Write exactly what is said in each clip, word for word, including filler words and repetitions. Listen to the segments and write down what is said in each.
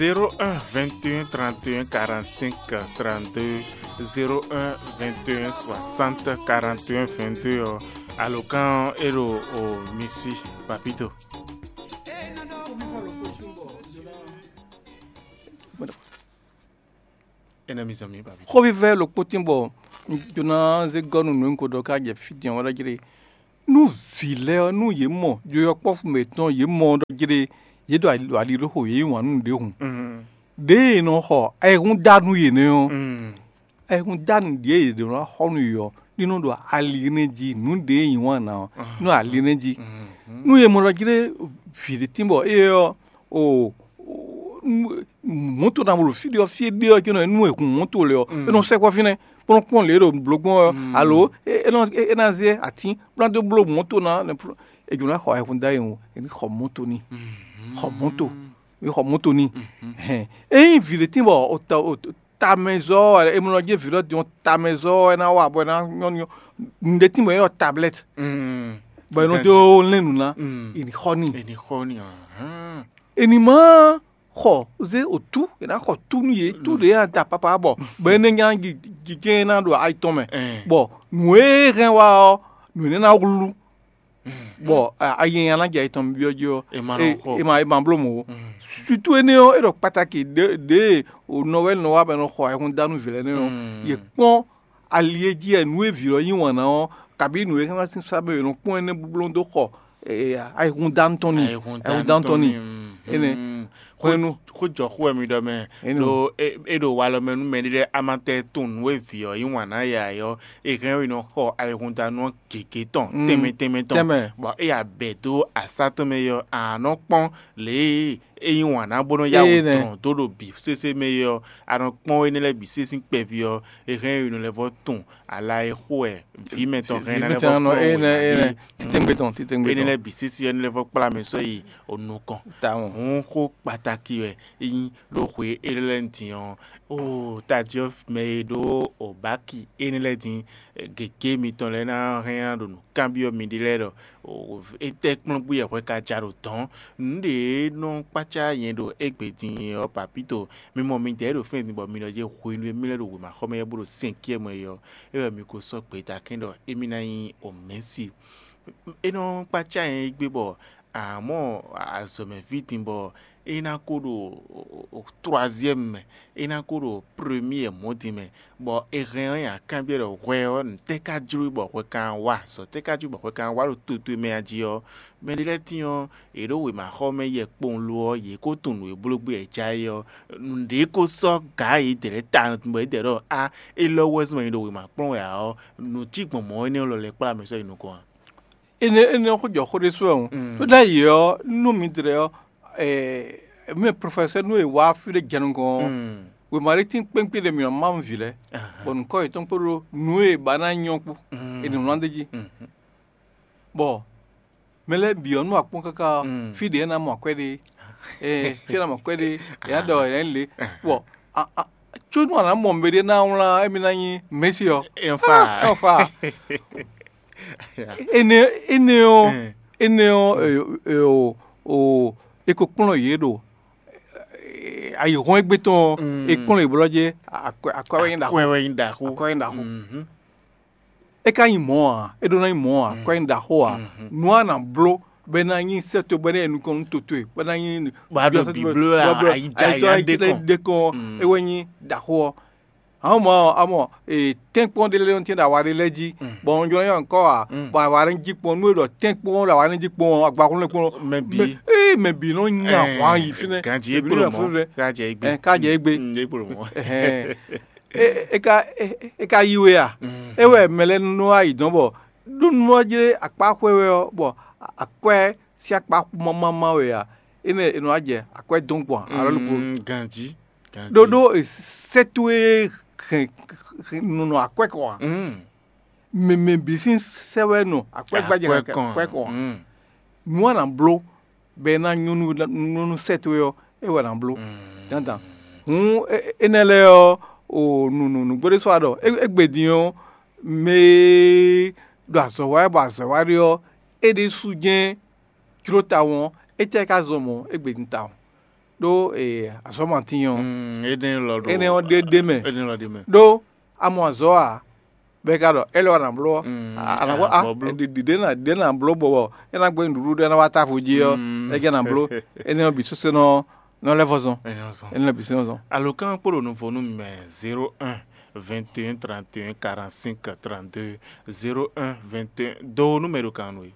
Zéro un vingt et un trente et un quarante-cinq trente-deux, zéro un vingt et un soixante quarante et un vingt-deux ɔ́, alǒkan ɔ́ é ɖo o mi sí, Papito. Énɛ́ mi zɔn mǐ, Papito. Xóvívɛ́ ɖokpó tín bɔ un jló ná zé gɔ́ nú nǔ e un ko ɖɔ ká jɛ fí din ɔ́ wɛ ɖɔ jlé. Nú vǐ lɛ́ɛ ɔ́, nú yě mɔ yɔkpɔ́vú mǐtɔn, yě mɔ ɖɔ jlé yě ɖo ali ɖo xo, yě yí wǎn nú nǔɖé hǔn, ɖěe è nɔ xɔ ayihún dá nú yě nɛ́ ɔ́, ayihún dá nǔ ɖíe yě ɖǒ ná xɔ nú yě ɔ́, ní nɔ ɖo ali énɛ́ jí, nǔ ɖě e yí wǎn ná ɔ́, nɔ ali énɛ́ jí. Nú è mɔ ɖɔ jlé vǐ ɖé tín bɔ éyɛ́ ɔ́, o mɔ̌to ná ɖo fí ɖé ɔ́, fí e ɖe ɔ́, cónɔ nú è hun mɔ̌to lě ɔ́, é nɔ sɛkpɔ́ fínɛ́, bó nɔ́ kpɔ́n lě e ɖo blǒ gbɔn ɔ́, alo é nɔ é ná zé atín bó ná dó bló mɔ̌to ná. È jǒ ná xɔ ayihún dá e wú, è ní xɔ mɔ̌to n'i, xɔ mɔ̌to, è xɔ mɔ̌to n'i. Hɛn, ényí vǐ ɖé tín bɔ tamɛzɔ́ wɛ, è mɔ jí vǐ lɔ din ɔ́, tamɛzɔ́ wɛ é ná wa bɔ é ná nyɔ́ nyɔ́. Nǔɖé tín bɔ é ɖɔ tablɛ́t, bɔ è nɔ dó lɛ́n nǔ ná, è ní xɔ n'i. È ní xɔ n'i. È ní má xɔ zé otú, è nǎ xɔ tú nú yě, tú ɖě a da papa bɔ bɔ énɛ́ nya jijɛ ná ɖo ayi tɔn mɛ, bɔ nǔ e hɛn wá ɔ́, nǔ énɛ́ ná wlú, bɔ ayi nya ná jɛ ayi tɔn byɔ́ jí ɔ́, è ma bló mɔ̌ ó. Sutu énɛ́ ɔ́, é ɖɔ kpataki ɖěe nɔ wɛ nɔ wá bɔ è nɔ xɔ ayihún dá nú vǐ lɛ́ɛ nɛ́ ɔ́, yě kpɔ́n ali e jí wɛ nǔ e vǐ ɔ́ yí wǎn ná ɔ́, kabǐ nǔ e hɛn wá sín sá mɛ è nɔ kpɔ́n énɛ́ bló dó xɔ ayihúndánú tɔn n'i. Ayihúndánú tɔn n'i. Énɛ́. Xwénu. Xó jɔ xó wɛ mi ɖɔ mɛ. Ɖo é ɖo walɔ mɛ nú mɛɖé lɛ́ɛ a ma tɛ tunwun nǔ e vǐ ɔ́ yí wǎn ná ya ɔ́, è hɛn ɔ́ è nɔ xɔ ayihúndánú ɔ́ gěgé tɔn tɛnmɛ tɛnmɛ tɔn, bɔ é ya bɛ dó asá tɔn mɛ ɔ́, a nɔ kpɔ́n lě e é yí wǎn ná bó nɔ́ yá wǔ dɔn dó ɖo bǐ sésé mɛ é ɔ́, a nɔ kpɔ́n énɛ́ lɛ́ɛ bǐ sésé kpɛví ɔ́, è hɛn ɔ́ è nɔ lɛ́ vɔ́ tunwun ala e xo wɛ vǐ mɛtɔn hɛn ná lɛ́ vɔ́ kpɔ́n wɛ ǎ. Titɛngbé tɔn, titɛngbé tɔn. Énɛ́ lɛ́ɛ bǐ sésé ɔ́, é nɔ lɛ́ vɔ́ kplá mɛ sɔ́ yi onukɔn. Tawun. Hǔn xó kpatáki wɛ é nyí ɖó xwe élɔ́ lɛ́ɛ din ɔ́, oo tají ɔ́ mɛ e ɖó obáki énɛ́ lɛ́ɛ din, gěgé mitɔn lɛ́ɛ ná hɛn ná ɖo nǔ kanbyɔ́ miɖée lɛ́ɛ ɖɔ étɛ́ kplɔ́ngbí wɛ hwɛ ka ja ɖo dɔ̌n? Nǔɖé e nɔ kpácá nyɛ ɖo égbé din ɔ́, Papito, mi mɔ midɛɛ ɖo fínɛ́ din bɔ mi nɔ jɛ hwenu e mì lɛ́ ɖo wěmaxɔmɛ yɛ bó ɖo sɛnkyɛ́ mɛ é ɔ́, é wɛ mi ko sɔ́ gbeta kɛ́n ɖɔ émí ná nyí omɛ̌si. É nɔ kpácá nyɛ égbé bɔ a mɔ azɔ̌mɛví din bɔ é ná ko ɖo troaziɛ́mu mɛ, é ná ko ɖo premiyɛ mɔ̌ din mɛ, bɔ è hɛn ɔ́ nyi akanbyɔ́ ɖɔ hwɛ ɔ́, nǔtɛ́ ka jló bɔ hwɛ ka wá? Azɔ̌ tɛ́ ka jló bɔ hwɛ ka wá ɖo to towe mɛ a jí ɔ́? Mɛɖé lɛ́ɛ tíin ɔ́, yě ɖo wěmaxɔmɛ yɛ kpowun lo ɔ́, yě ko tunwun nǔ e bló gbé wɛ ja é ɔ́, nǔɖé ko sɔ́ gǎ yědɛɛ lɛ́ɛ ta bɔ yědɛɛ ɖɔ á, élɔ́ wɛ zɔ́n nyi ɖo wěma kplɔ́n wɛ ǎ ɔ́, nǔ cí gbɔn mɔ̌ énɛ́ lɔ lɛ́ kplá mɛ sɔ́ yi nukɔn a? Énɛ́ énɛ́ ɔ́ xó jɔ xó ɖésú wɛ hǔn. Tó ɖ'ayǐ ɔ́, nú midɛɛ ɔ́, mɛ profɛsɛ́ nú è wá fí ɖé jɛ nukɔn ɔ́, wěma ɖé tín kpénkpé ɖé mǐ nɔ má vǐ lɛ́ɛ, bɔ nǔkɔ yětɔn kpódó nǔ e è ba ná nyɔ́ kpó, è nǐ wlán d'é jí. Bɔ mɛ lɛ́ɛ bǐ ɔ́ nú akpɔ́n káká ɔ́, fí ɖě ná mɔ akwɛ́ ɖe, ee fí ná mɔ akwɛ́ ɖe, è nǎ ɖɔ è nǎ lě. Bɔ có nú a nǎ mɔ mɛɖé ná wlán émí ná nyí Mɛ̌si ɔ́, é nɔ fa. Énɛ́ énɛ́ ɔ́, énɛ́ ɔ́, o o è ko kplɔ́n yě ɖo ayǐhɔ́n égbé tɔn ɔ́, è kplɔ́n yě blɔ́ jɛ akwɛ́ akwɛ́ wɛ nyí ɖaxó. Akwɛ́ wɛ nyí ɖaxó. Akwɛ́ wɛ nyí ɖaxó. É ka nyí mɔ̌ ǎ, é ɖó ná nyí mɔ̌ ǎ, kɔ nyí ɖaxó ǎ. Nǔ a nǎ bló bɔ é ná nyí sɛ́ towe bɔ é ná nyí nukɔn nú to towe, bɔ é ná nyí Bɔ a ɖo bǐbló wɛ ayíjá ayíjá ɖé kɔn. Ɖé kɔn é wɛ nyí ɖaxó ɔ́. Amɔ̌ amɔ̌ tɛ́nkpɔ́n ɖé lɛ́ɛ nɔ tɛ́n ɖo awa ɖé lɛ́ɛ jí, bɔ un jló ná nyɔ́ kɔ́ ǎ, bɔ awa ɖé jí kpɔ́n nú é ɖɔ tɛ́nkpɔ́n ɖo awa ɖé jí kpɔ́n ɔ́, agbaxúnlé kpɔ́n. Mɛ bǐ. Ee mɛ bǐ nɔ nya hwan yi fínɛ́. Ganji é kpolo mɔ̌. Ká jɛ égbé. Ká jɛ égbé. É kpolo mɔ̌. É ka é ka yi we a? É wɛ mɛ lɛ́ɛ nɔ wá yi dɔ̌n bɔ ɖó nú ɔ́ jlé akpá xwé wɛ ɔ́, bɔ akwɛ́ sín akpá xú mámámá wɛ a? Énɛ́ è nɔ wá jɛ akwɛ́ dɔn gbɔn alɔ lukpo. Ganji. Ɖóɖó sɛ́ towe hɛn nɔnɔ akwɛ́ kɔ a? Mɛ mɛ bǐ sín sɛ́ wɛ nɔ akwɛ́ gbájɛ akwɛ́ kɔ a? Nǔ a nǎ bló bɔ é ná nyɔ́ nú nú sɛ́ towe ɔ́, é wɛ ná bló. Dandan. Hǔn énɛ́ lɛ́ɛ ɔ́, o nǔ nǔ nǔgbó ɖé sɔ́ wa ɖɔ égbé din ɔ́, mɛ e ɖo azɔ̌ wa wɛ bɔ azɔ̌ wa ɖe ɔ́, é ɖésú jɛ́n jló tawun ɔ́, étɛ́ ka zɔn mɔ̌ égbé din tawun? ɖó azɔ̌ matín ɔ́, énɛ́ lɔ ɖo énɛ́ ɔ́ ɖé ɖé mɛ. Énɛ́ lɔ ɖé mɛ. Ɖó a mɔ azɔ̌ a, bɔ é ka ɖɔ é lɛ wá nǎ bló ɔ́, Mm, a nǎ bló a a nǎ bló. ɖiɖi ɖě nǎ ɖě nǎ bló bɔ é ná gbé nǔɖuɖu ɖé ná wá távo jí ɔ́, Mm. É jɛ nǎ bló. Énɛ́ ɔ́ bǐ sésé nɔ nɔ lɛ́ vɔ zɔn. Énɛ́ lɔ zɔn. Énɛ́ ɔ́ bǐ sésé nɔ zɔn. Alo kan kpo ɖo nuvo nú mɛ zéro un vingt et un trente et un quarante-cinq trente-deux, zéro un vingt et un, do nú mɛ ɖo kan nú é.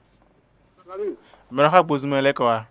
Mɛ ɖo xá gbozumɛ lɛ́ kɔ wá.